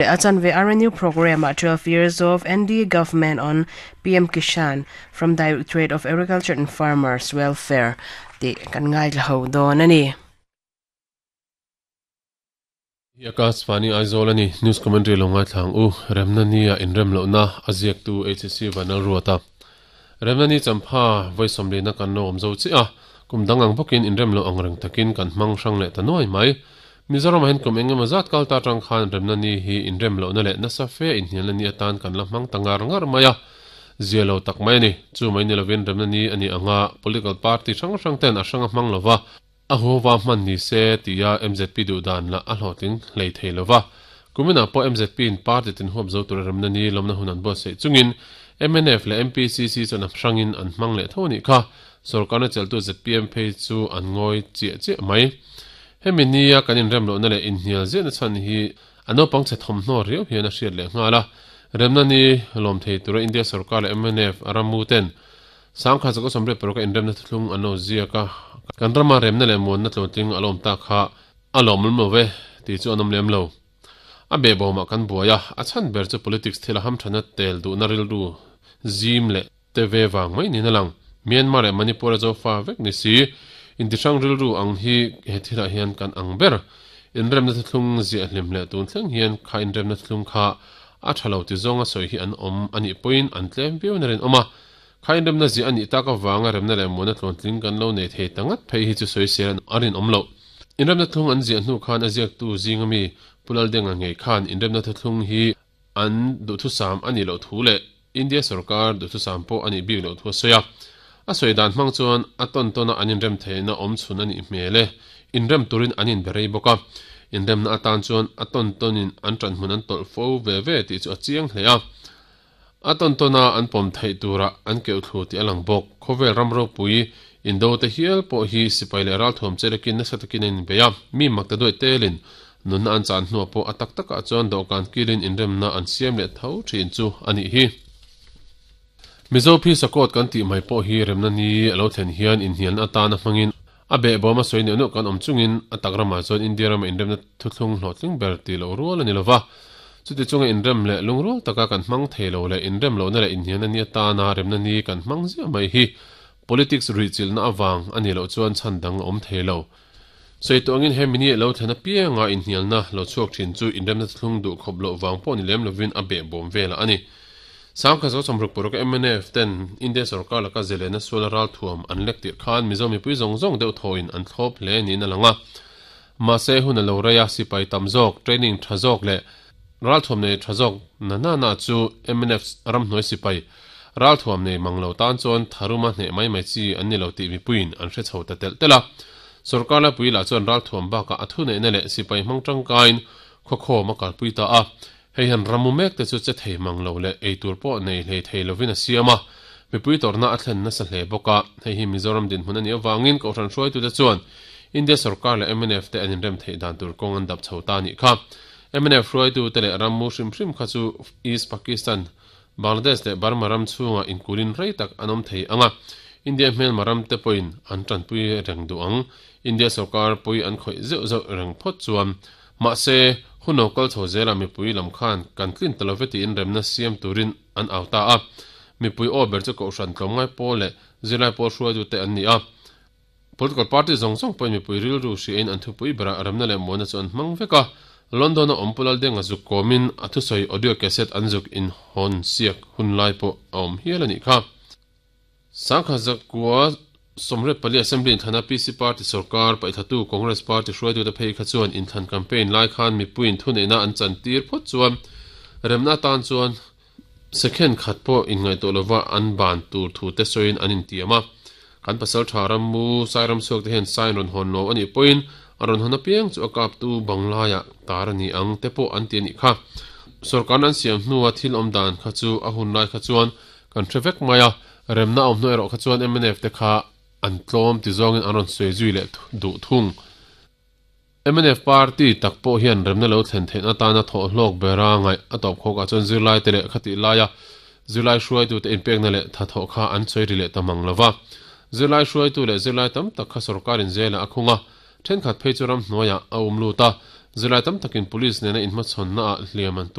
A chanve RNU Programme ah 12 Years of NDA Government on PM Kishan from Directorate of Agriculture and Farmers Welfare tih kan ngaithla ho dawn a ni. Hi Akashvani Aizawl a ni. News Commentary lo ngaithla ang u. Remna Ni-ah inrem lohna a ziaktu HSC Vanlalruata. Remna Ni champha vawi sawmlina kan lo awm zo chiah a, kum dang ang bawkin inrem loh ang reng takin kan hmang hrang leh ta nuai mai. Mizoramah hian kum eng emaw zat kal ta atang khan remna ni hi inrem lohna leh nasa fe inhnialna ni atan kan la hmang ta ngar ngar mai a, zia lo tak mai a ni. Chu mai ni lovin remna ni a nih anga political party hrang hrang ten a hrang a hmang lova, a huhova hman ni se tia mzp duh dan lah a hlawhtling hlei thei lova. Kuminah pawh mzp in party tin huap zo tura remna ni lawmna hun an buatsaih chungin mnf leh MPCC chuan a hrangin an hmang leh tho a nih kha. Sorkarna chelhtu zpm phei chu an ngawi chiah chiah mai. Hemi nia kan inrem lohna leh inhnial ziahna chhan hi a naupang chhe thawmhnaw riau hian a hriat leh nghal a. Remna ni lawm thei tura India sorkar leh mnf a rammu ten Sangkhat Zakua 36 a inremna thuthlung an lo ziak a, kan rama remna leh muanna tlawntling a lawm tak kha a lawmawm lo ve tih chu an awm lem lo. A behbawmah kan buai a, a chhan ber chu politics thil a hamthana tel duhna rilru zim leh te ve vang mai niin a lang. Myanmar leh Manipur a zofa vek ni si, intihrang rilru ang hi he thilah hian kan ang ber. Inremna thuthlung ziah hlim leh tun thleng hian kha inremna thuthlung kha a tha lo ti zawnga sawi hi an awm a nih pawhin an tlem viau na rinawm a. Kha inremna ziah a nih tak avanga remna leh muana tluantling kan lo nei thei ta ngat phei hi chu sawisel a rinawm loh. Inremna thlung an ziah hnu khan a ziaktu zinga mi Pu Laldenga ngei khan inremna thuthlung hi an duhthusam a nih loh thu leh India sorkar duhthusam pawh a nih bik loh thu a sawi a. A sawi dan hmang chuan a tawn tawna an inrem theihna awm chhun a nih hmel e. Inrem turin an inbe rei bawk a. Inremna atan chuan a tawn tawnin an ṭanhmun an tawlh fo ve ve tih chu a chiang hle a. A tawn tawna an pawm theih tura an keuh thlu tih a lang bawk. Khawvel ram ropui indo te hial pawh hi sipai leh ralthuam chelekin nasa takin an inbei a. Mi makta duai telin Nunna an chan hnuah pawh a tak takah chuan dawhkan kilin inremna an siam leh tho thin chu a nih hi. Mizo phisa court kan tih mai pawh hi remna ni a lo thlen hian inhnialna atana hmangin a behbawm a sawi neuh neuh kan awm chungin a tak ramah chuan India rama inremna thuthlung hlawhtling ber tih loh rual a ni lova. Chuti chunga inrem leh lungrual taka kan hmang thei lo leh inrem lohna leh inhnialna ni atana remna ni kan hmang ziah mai hi politics ruihchilhna avang a nih loh chuan chhan dang a awm thei lo. Sawi tawh angin he mini lo thlen apianga inhnialna lo chhuak thin chu inremna thlung duh khawp loh vang pawh ni lem lovin a behbawm velah a ni. Sangkhat zo sawmruk paruk mnf ten India sorkar laka zelena suala ralthuam an lek tirh khan Mizo mipui zawng zawng deuh thawin an thlawp hle niin a lang a. Mahse hun a lo rei a, sipai tam zawk, training tha zawk leh ralthuam nei tha zawk na na na chu mnf ramhnuai sipai ralthuam nei mang lo tan chuan tharuma hneh mai mai chi an ni lo tih mipuiin an hre chho ta telh telh a. Sorkar laipui lah chuan ralthuam bakah a thuneihna leh sipai hmang tangkaiin khawkhawm a kalpui ta a. Hei hian rammu mek te chu che thei mang lo leh eitur pawh nei hlei thei lovin a siam a, mipui tawrhna a thlen nasa hle bawk a. Hei hi Mizoram dinhmun a nih avangin Kohhran hruaitute chuan India sorkar leh mnf te an inrem theih dan tur kawng an dap chho ta a nih kha. Mnf hruaitute leh rammu hrim hrim kha chu East Pakistan, Bangladesh leh Burma ram chhungah inkulin rei tak an awm thei ang a, India hmelma ram te pawhin an tanpui reng duh ang. India sorkar pui an khawih zeuh zeuh reng phawt chuan. Mahse, hun lo kal chho zelah mipui lam khan kan tlin ta lo ve tiin remna siam turin an au ta a. Mipui aw ber chu Kohhran tlawmngai pawl leh zirlai pawl hruaitute an ni a. Political party zawng zawng pawhin mipui rilru hriain an thupui berah remna leh muanna chu an hmang vek a. London-a awm Pu Laldenga zuk kawmin a thusawi audio cassette an zuk inhawn siak hun lai pawh a awm hial a nih kha. Sangkhat zakua 24 Assembly inthlanah PC party sorkar paihthlatu Congress party hruaitute phei kha chuan inthlan campaign lai khan mipuiin thuneihna an chantir phawt chuan remna atan chuan Second khat pawh inngaihtuah lova an ban tur thu te sawiin an intiam a. Kan pasal tha rammu Sairam chhuak te hian sign rawn hawn lo a nih pawhin a rawn hawn apiang chu a kaptu banglaiah tar a ni ang te pawh an ti a nih kha. Sorkarna an siam hnua thil awm dan kha chu a hun lai kha chuan kan hre vek mai a, remna a awm hnu erawh kha chuan mnf te kha an tlawm ti zawngin an rawn sawi zui leh duh thung. Mnf party tak pawh hian remna lo thlen theihna atana thawh hlawk bera ngaih a tawp khawkah chuan zirlaite leh khatih laia zirlai hruaitute inpekna leh thathawh kha an sawi ri leh ta mang lo va. Zirlai hruaitu leh zirlai tam tak kha sorkarin zelah a khung a, thenkhat phei chu ramhnuaiah a um lut a. Zirlai tam takin police nena inhmachhawnna ah hliam an